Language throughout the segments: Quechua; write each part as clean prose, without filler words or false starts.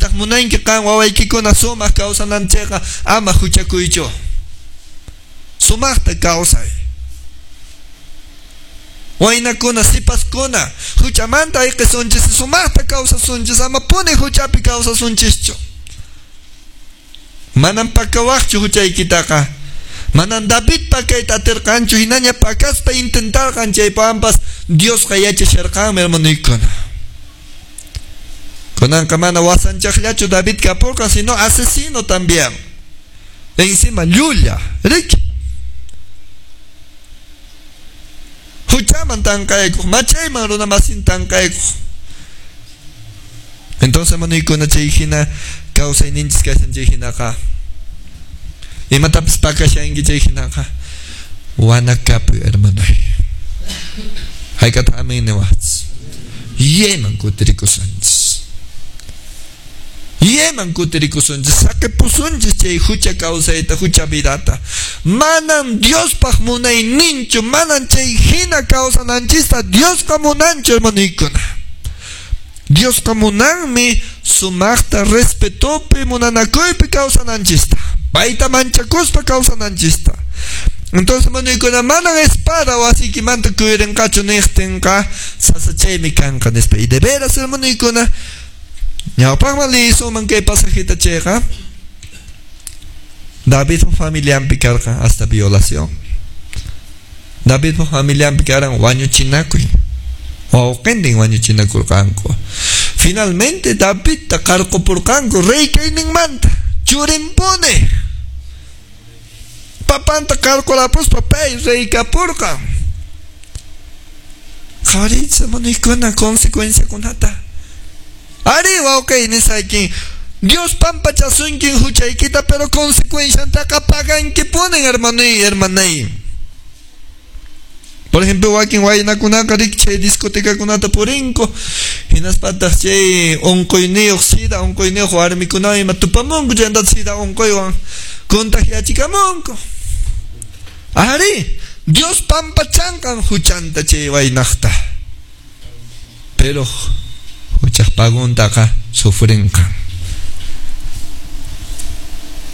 Sitaq munanki qan wawaykikuna sumaq kawsananchikqa ama huchakuychu. Sumaqta kawsay. Waynakuna, sipaskuna, huchamanta ayqisunchis, sumaqta kawsasunchis, ama puni huchapi kawsasunchischu. Manam pakawaqchu huchaykitaqa. Manam David pakayta atirqanchu, hinaña pakaspa intentarqan chaypampas Diosqa yachasharqanmi, hermanoykuna. Kunanqa mana wasanchaqllachu David kapurqan, sino asesino también. Encima llulla, riki. Huchaman tanqaykuq, machayman runa masin tanqaykuq. Entonces, hermanoykuna, chay hina kawsayninchis kashan chay hinaqa. Imatapis pakashanki chay hinaqa. Wanakapuy, hermanoy. Hayk'ataq amén niwaqchis. Yeman kutirikusunchis. Yeman kutirikusunchis, saqipusunchis chay hucha kawsayta, hucha vidata. Manam Diospaq munayninchu, manam chay hina kawsananchista Diosqa munanchu, hermanoykuna. Diosqa munanmi sumaqta respetopi munanakuypi kawsananchista. Payta manchakuspa kawsananchista. Entonces, hermanoykuna, manan espada wasiykimanta kuyurinqachu niqtinqa sasachaymi kanqa nispa. Y de veras, hermanoykuna, ñawpaqman liyisuman kay pasajita chayqa, Davidpa familianpi karqa hasta violación. Davidpa familianpi karan wañuchinakuy. Wawqintin wañuchinakurqanku. Finalmente Davidta qarqupurqanku rey kayninmanta, churinpuni. Papanta qarqurapuspa pay rey kapurqan. Qhawariychis, hermanoykuna, consecuenciakunata. Ari wawqi nisaykin, Dios pampachasunkin huchaykita, pero consecuenciantaqa pagankipunin, hermanoy, hermanay. Por ejemplo, wakin waynakunaqa riki chay discotecakunata purinku, hinaspataq chay unquyniyuq, sida unquyniyuq warmikunawan ima tupamunku, chaymantataq sida unquywan contagiachikamunku. Ari, Dios pampachanqan huchanta chay waynaqta. Pero huchaq paguntaqa sufrinqan.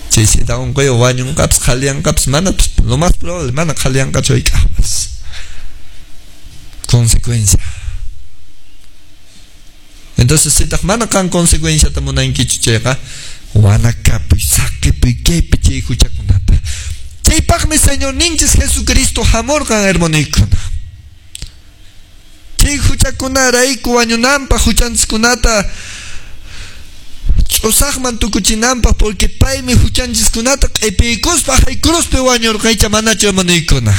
Chay sida unquywan wañunqapas, qhaliyanqapas, mana, lo más probable, mana qhaliyanqachu hayk'aqpas. Consecuencia. Entonces, sitaq mana qan consecuenciata munankichu chayqa, wanakapuy, saqipuy kaypi chay huchakunata. Chaypaqmi Señorninchis Jesucristo hamurqan, hermanoykuna. Chay huchakunarayku wañunanpaq, huchanchiskunata ch'usaqman tukuchinanpaq, porque paymi huchanchiskunata q'ipiykuspa hay cruzpi wañurqa, icha manachu, hermanoykuna.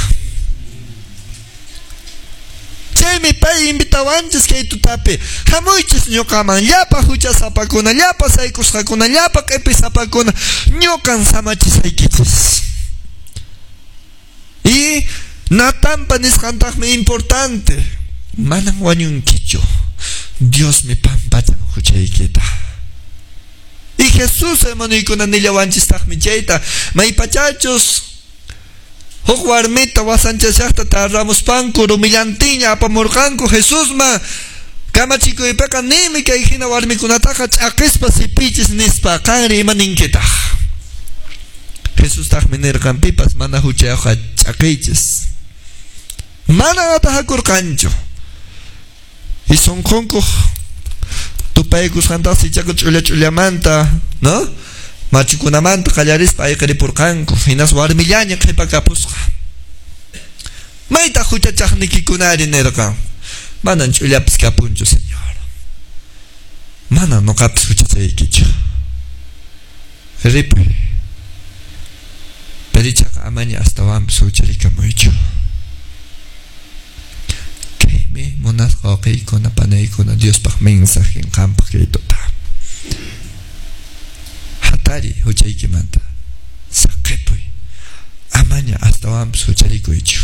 Chaymi pay invitawanchis kay tutapi, hamuychis ñuqaman, llapa huchasapakuna, llapa saykusqakuna, llapa q'ipisapakuna, ñuqan samachisaykichis. Y Natanpa nisqantaqmi importante, manan wañunkichu, Diosmi pampachan huchaykita. Y Jesús, hermanoykuna, nillawanchistaqmi chayta, maypachachus huk warmita wasanchashaqta tarramuspanku rumillantiña apamurqanku Jesusman, kamachikuypiqa ninmi kay hina warmikunataqa ch'aqispa sipichis nispa, qanri ima ninkitaq? Jesustaqmi nirqan, pipas mana huchayuqqa ch'aqiychis. Mana atajakurqanchu. Y sunqunkuq tupaykusqantaqa ichaqa ch'ulla ch'ullamanta, ¿no? Machukunamanta qallarispa ayqiripurqanku, hinas warmillaña qhipakapusqa. Maytaq huchachaqnikikunari nirqan, manan ch'ullapis kapunchu, Señor. Manan nuqapis huchachaykichu. Ripuy. Pero ichaqa amaña astawanpis huchallikamuychu. Kaymi munasqa wawqiykuna, panaykuna, Diospaq mensajen qampaq kay tuta. Hatari huchaykimanta, saqipuy, amaña astawanpis huchallikuychu.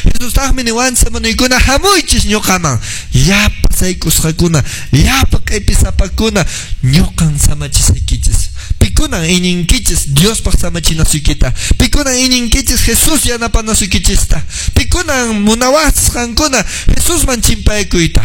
Jesustaqmi niwanchis, hermanoykuna, hamuychis ñuqaman, llapa saykusqakuna, llapa q'ipisapakuna, ñuqan samachisaykichis. Pikunan iñinkichis Diospaq samachinasuykita, pikunan iñinkichis Jesús yanapanasuykichista, pikunan munawaqchis qankuna Jesusman chimpaykuyta.